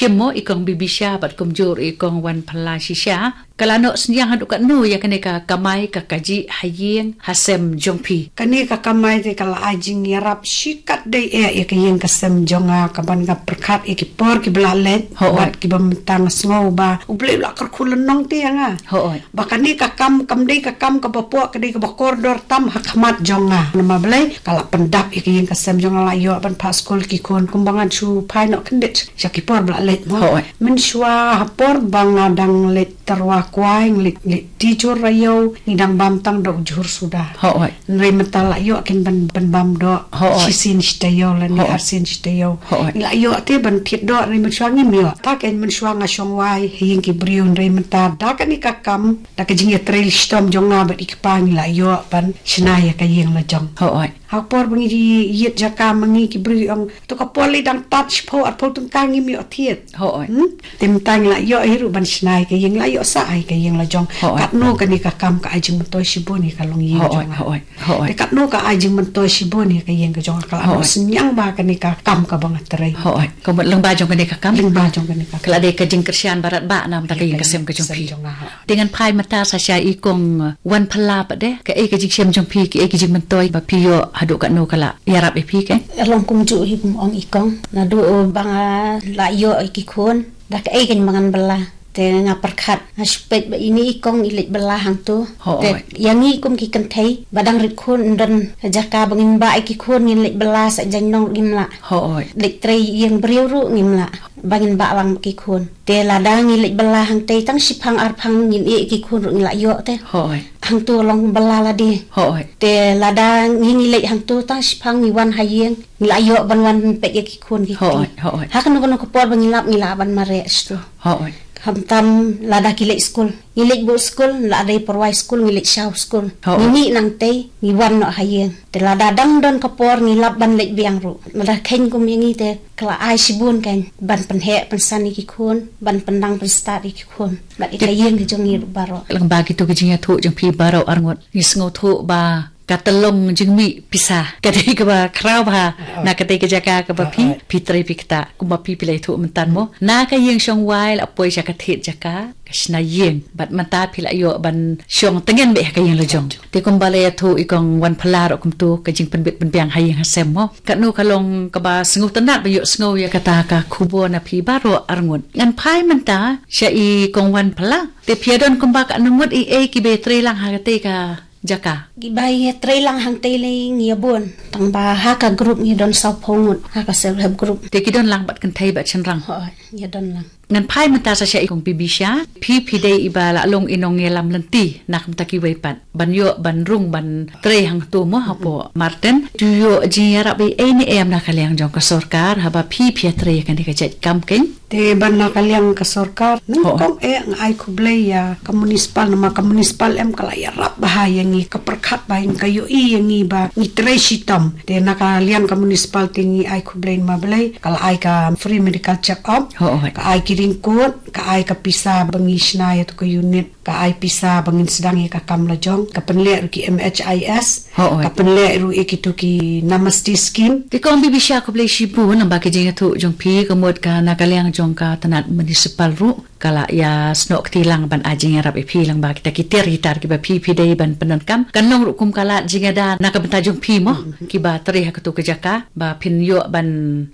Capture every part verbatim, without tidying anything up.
Kim mo i kong Bibisha bad kumjuh i kong Wanphala shisha. Ka la noh synñiang haduh katno ïa kane ka kamai ka kajih ha ïing ha sem jong phi? Kane ka kamai te ka la ai jingïarap shikatdei eh ïa ka ïing ka sem jong nga, ka ban nga pyrkhat ïa ki por kiba la leit. Hooid. Bad kiba mynta nga sngew ba U Blei u la kyrkhu lynnong te ïa nga. Hooid. Ba kane ka kam kam dei ka kam kaba pok, ka dei kaba kordor tam ha khmat jong nga. Namar balei? Ka la pyndap ïa ka ïing ka sem jong nga, la ïoh ban phah skul ki khun kumba ngan shu phai noh khyndiat sha ki por ba la leit mo. Hooid. Mynshuwa ha por ba nga dang leit tyrwa kwai, ngi leit, leit tijur raïew, ngi dang bam tang da u jhur suda. Hooid. Hynrei mynta la ïoh kin ban, ban bam doh. Hooid. Shisien shi taïew lane arsien shi taïew. Hooid. Ngi la ïoh te ban thied doh, hynrei mynshuwa ngim ïoh. Ta ken mynshuwa nga shong wai ha ïing ki briew, hynrei mynta da kane ka kam, da ka jingïatrei shitom jong nga bad i kpa ngi la ïoh ban shna ïa ka ïing la jong. Hooid. Ha ka por ba ngi ïit jaka ma ngi ki briew ong, to ka por lei dang tad shiphew arphew tyngka ngim ïoh thied. Hooid. Hmm? Te mynta ngi la ïoh hi ruh ban shna ïa ka ïing, la ïoh sah ïa ka ïing la jong. Hooid. Katno kane ka kam ka ai jingmyntoi shibun ïa ka longïing jong nga. Hooid. Hooid. Te katno ka ai jingmyntoi shibun ïa ka ïing ka jong nga, ka la noh synñiang ba kane ka kam kaba nga trei. Hooid. Ka mut lyngba jong kane ka kam. Lyngba jong kane ka kam. Ka la dei ka jingkyrshan baroh ba namar ka ïing ka sem ka jong phi. Jong nga. Te ngan phai mynta sa sha i kong Wanphala pat de, kaei ka jingshem jong phi, kaei ka jingmyntoi ba phi ïoh haduh katno ka la ïarap ïa phi ke? Ka long kumjuh hi kum ong i kong. Naduh ba nga la ïoh ïa ki khun, da kaei kein ba ngan bylla? Te nga pyrkhat, nga shu peit ba ine i kong i leit bylla hangto. Hooid. Te ïa ngi kum ki kynthei ba dang rit khun, ym don jaka ba ngin bah ïa ki khun, ngin leit bylla sa jaiñnong ruh ngim lah. Hooid. Leit trei ïing briew ruh ngim lah ba ngin bah lang ki khun. Te lada ngi leit bylla hangtei tang shiphang arphang ngin ïeh ki khun ruh ngi la ïoh te. Hooid. Hangto long bylla lade. Hooid. Te lada ngi, ngi leit hangto tang shiphang ngi wan ha ïing, ngi la ïoh ban wan peit ïa ki khun ki kti. Hooid, hooid. Ha kano kano ka por ba ngi lap ngi lah ban mareh shto. Hooid. Khamtam lada ki leit skul, ngi leit buh skul, la dei pyrwai skul ngi leit shaw skul. Hooid. Ngi mih nangtei ngi wan noh ha ïing. Te lada dang don ka por ngi lap ban leit biang ruh. Lada kheiñ kum ïa ngi te ka la ai shibun kein ban pynheh pynsan ïa ki khun, ban pyndang pynstad ïa ki khun bad ïa ka ïing ka jong ngi ruh baroh. Lyngba kito ki jingïathuh jong phi baroh arngut, ngi sngewthuh ba ka tyllong jingmih pisa ka dei kaba khraw bha na katei ka jaka kaba phi, phi trei phi ktah, kumba phi, phi la ïathuh mynta mo. Na ka ïing shong wai la poi sha ka thied jaka, ka shna ïing. Bad mynta phi la ïoh ban shong tngen beit ha ka ïing la jong. Te kumba la ïathuh i kong Wanphala ruh kumto, ka jingpynbit pynbiang ha ïing ha sem mo. Katno ka long kaba sngewtynnat ba ïohsngew ïa kata ka khubor na phi baroh arngut. Ngan phai mynta sha i kong Wanphala. Te phi ïa don kumba katno ngut i ei kiba trei lang ha katei ka jaka? Kiba ïa trei lang hangtei lei ngi ïa bun. Tang ba ha ka group ngi don sawphew ngut ha ka self help group. Te ki don lang bad kynthei bad shynrang? Hooid, ngi ïa don lang. Ngan phai mynta sa sha i kong Bibisha, phi phi dei iba la long i nongïalam lynti na ka bynta kiwei pat ban ïoh ban rung ban trei hangto mo hapoh Martin. To ïoh jingïarap ei ei ne em na ka liang jong ka sorkar haba phi phi ïa trei ïa kane ka jait kam kein? Te ban na ka liang ka sorkar, nyngkong eh nga ai khublei ïa ka municipal, namar ka municipal em ka la ïarap bha ïa ngi, ka pyrkhat bha ïa ngi, ka ïohi ïa ngi ba ngi trei shitom. Te na ka liang ka municipal te ngi ai khublei namar balei, ka la ai ka free medical check up, hooid, ka ai ki raincoat, ka ai ka pisa ba ngi shna ïa tu ka unit, ka ai pisa ba ngin sdang ïa ka kam la jong, ka pynleh ruh ki M H I S, hooid, ka pynleh ruh ïa kitu ki Namaste scheme. Te kong Bibisha khublei shibun namar ka jingïathuh jong phi, ka mut ka na ka liang jong ka tnat municipal ruh ka la ïa snoh kti lang ban ai jingïarap ïa phi lyngba kita ki tiar ki tar kiba phi phi dei ban pyndonkam. Kan long ruh kum ka lad jingïada na ka bynta jong phi mo, kiba trei ha katu ka jaka ba phin ïoh ban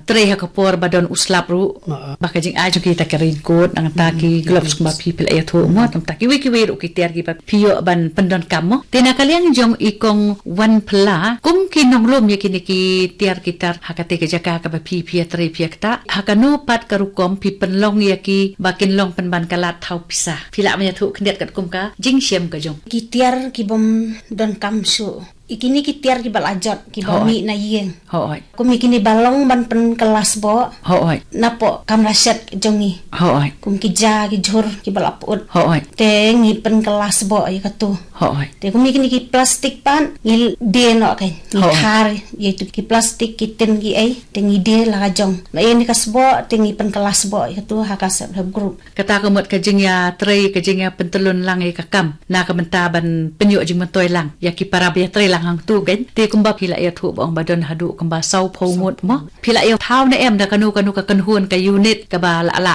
trei ha ka por ba don u slap ruh, ba ka jingai jong kita ki raincoat, nangta ki gloves kumba phi phi la ïathuh mo, tangta kiwei kiwei ruh ki tiar kiba phi ïoh ban pyndonkam mo. Te na ka liang jong i kong Wanphala, kum ki nonglum ïa kine ki tiar ki tar ha katei ka jaka kaba phi phi ïa trei phi ïa ktah, ha kano pat ka rukom phi pynlong ïa ki ba kin long pynban ka lad thaw pisa? Phi lah ban ïathuh khyndiat katkum ka jingshem ka jong ki tiar kibym donkam shuh. Ïa kine ki tiar kiba la jot kiba mih na ïing. Hooid. Kum ïa kine ba long ban pynkylla sboh. Hooid. Napoh kamra shet jong ngi. Hooid. Kum ki ja ki jhur kiba la put. Hooid. Te ngi pynkylla sboh ïa katu. Hooid. Te kum ïa kine ki plastik pat ngi die noh kein. Ngi khar ïa tu ki plastik ki tin ki ei. Te ngi die la ka jong. Ba ïa ni ka sboh te ngi pynkylla sboh ïa katu ha ka self help group. Kata ka mut ka jingïatrei, ka jingïapyntyllun lang ïa ka kam na ka bynta ban pynïoh jingmyntoi lang ïa ki para ba ïatrei tang hangtu kein. Te kumba phi la ïathuh ba ong ba don haduh kumba saw phew ngut mo. Phi la ïathuh ne em da kano kano ka kynhun ka unit kaba la lah